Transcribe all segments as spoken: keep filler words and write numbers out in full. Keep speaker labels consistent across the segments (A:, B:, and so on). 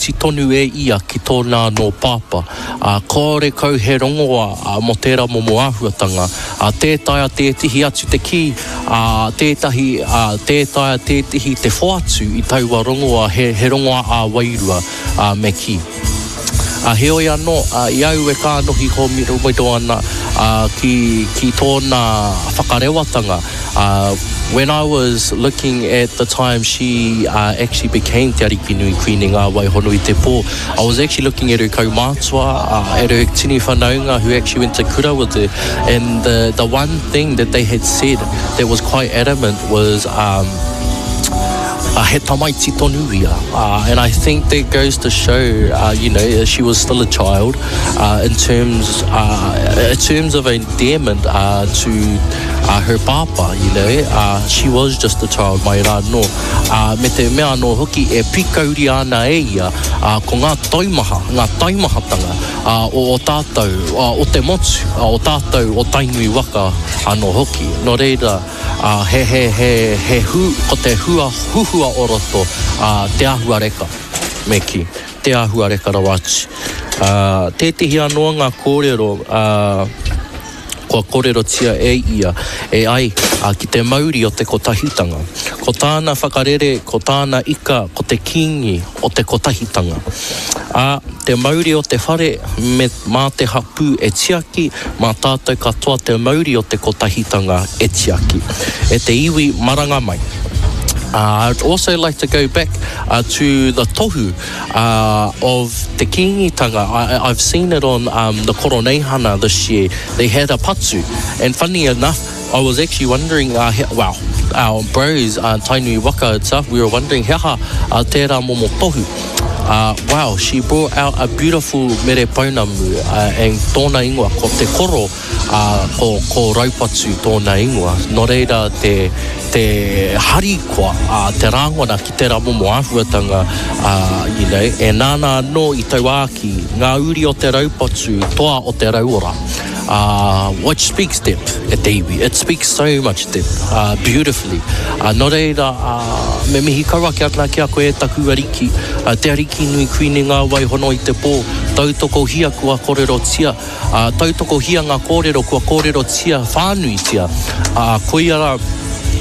A: tamaiti tonu e ia ki tōna anō pāpā. Ā, kāore kau he rongoā ā, mō tērā momo āhuatanga. Ā, tē taea tētehi atu te kī, ā, tētahi, ā, tē taea tētehi te whoatu i taua rongoā, he, he rongoā ā-wairua, ā, me kī. Ā, heoi anō, ā, i au e kānohi hōmiromiro ana, ā, ki, ki tōna whakarewatanga, ā, when I was looking at the time she, uh, actually became Te Arikinui Kuini Ngā Wai Hono i te Pō, I was actually looking at her kaumātua, uh, at her tini whanaunga who actually went to kura with her, and the, the one thing that they had said that was quite adamant was, um, uh, he tamaiti tonu ia. Uh, and I think that goes to show, uh, you know, she was still a child uh, in terms uh, in terms of endearment uh, to uh, her pāpā, you know, uh, she was just a child mai rā anō. Uh, me te mea anō hoki e pīkauria ana e ia uh, ko ngā taumaha, ngā taumahatanga uh, o, o tātou, uh, o te motu, uh, o tātou, o Tainui waka anō hoki. Nō reira, uh, he, he, he, he hu, ko te hua, huhua o roto, uh, te āhuareka, me kī, te āhuareka rawa atu. Uh, tētehi anō ngā kōrero, uh, kua kōrerotia e ia e ai uh, ki te mauri o te kotahitanga. Ko tāna whakarere, ko tāna ika, ko te kīngi o te kotahitanga. Ā, te mauri o te whare, me, mā te hapū e tiaki, mā tātou katoa te mauri o te kotahitanga e tiaki. E te iwi maranga mai. Uh, I'd also like to go back uh, to the tohu uh, of te Kīngitanga. I, I've seen it on um, the Koroneihana this year. They had a patu. And funny enough, I was actually wondering, uh, he, well, our bros, uh, Tainui Waka itself, we were wondering, he aha uh, tērā momo tohu. Uh, wow, she brought out a beautiful mere pounamu uh, and tōna ingoa, ko te koro, uh, ko, ko Raupatu tōna ingoa. Nō reira te, te harikoa, uh, te rāngona ki tērā momo āhuatanga, uh, you know, e nāna anō i tauākī, ngā uri o te raupatu, toa o te rauora. Uh, which speaks depth e te iwi. It speaks so much depth, uh, beautifully. Uh, nō reira, uh, me mihi kau ake ana ki a koe e taku ariki, uh, te ariki nui kuini ngā wai hono i te pō, tautokohia kua kōrerotia, uh, tautokohia ngā kōrero kua kōrerotia whānuitia. Uh, koia rā,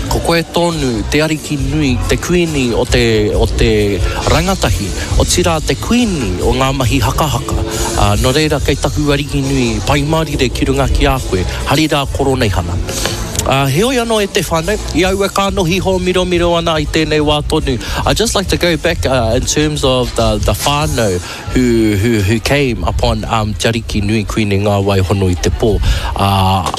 A: ko koe tonu te ariki nui, te kuini o te, o te rangatahi, otirā te kuini o ngā mahi hakahaka. Uh, nō reira, kei taku ariki nui, pai mārire ki runga ki a koe, hari rā Koroneihana. Uh, heoi anō e te whānau, i au e kānohi hōmiromiro ana i tēnei wā tonu. I'd just like to go back uh, in terms of the, the whānau who, who, who came upon um, Te Ariki Nui Kuini Ngā Wai Hono i te Pō. Uh,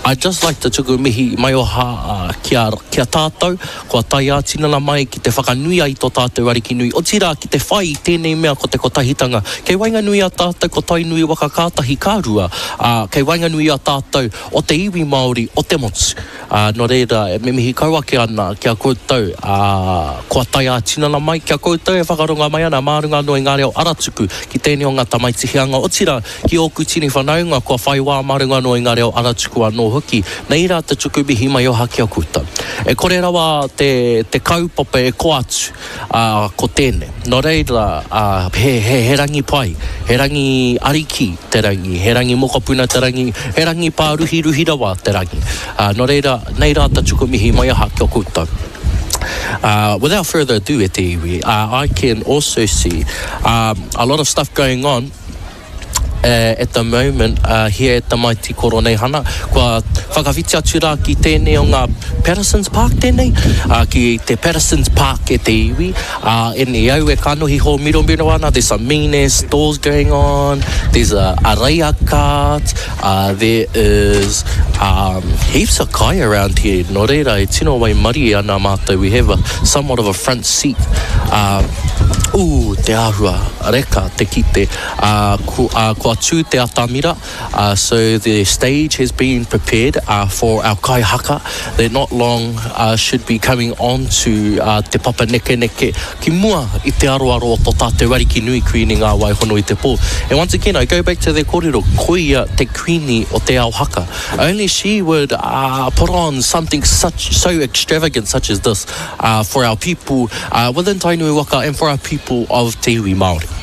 A: I'd just like to tuku mihi maioha uh, ki a, ki a tātou, kua tae ā-tinana mai ki te whakanuia i tō tātou ariki nui, otirā ki te whai i tēnei mea ko te kotahitanga. Kei waenganui i a tātou ko Tainui waka ka tahi ka rua, ā, kei waenganui i a tātou o te iwi Māori o te motu. Ā, nō reira, me mihi kau ake ana ki a koutou, ā, kua tae ā-tinana mai, ki a koutou e whakaronga mai ana mā runga anō i ngā reo aratuku ki tēnei o ngā tamaiti hianga, otirā, ki ōku tini whanaunga kua whai wā mā runga anō i ngā reo aratuku anō hoki. Nei rā te tuku mihi maioha ki a koutou. E kore rawa te, te kaupapa e koa atu, ā, ko tēnei. Nō reira, ā, he, he, he rangi pai, he rangi ariki te rangi, he rangi mokopuna te rangi, he rangi pāruhiruhi rawa te rangi. Ā, nō reira, nei rā te tuku mihi maioha ki a koutou. Uh, without further ado e te iwi, uh, I can also see um, a lot of stuff going on uh, at the moment uh, here at the Mighty Koroneihana. Kua whakawhiti atu rā ki tēnei o ngā Patterson's Park tēnei, uh, ki te Patterson's Park e te iwi. Uh, and i au e kanohi hōmiromiro ana, there's some mean ass stores going on, there's a, a reia cart, uh, there is um, heaps of kai around here. Nō reira, e tino waimarie ana mātou. We have a, somewhat of a front seat. Uh, Ooh, te āhua reka te kite. Uh, ku, uh, kua tū te atamira, uh, so the stage has been prepared uh, for our kai haka. They're not long uh, should be coming on to uh, te papa nekeneke ki mua i te aroaro o tō tātou ariki nui Kuini Ngā Wai Hono i te Pō. And once again, I go back to the kōrero, koia te kuini o te ao haka. Only she would uh, put on something such so extravagant such as this uh, for our people uh, within Tainui Waka and for our people of te iwi Māori.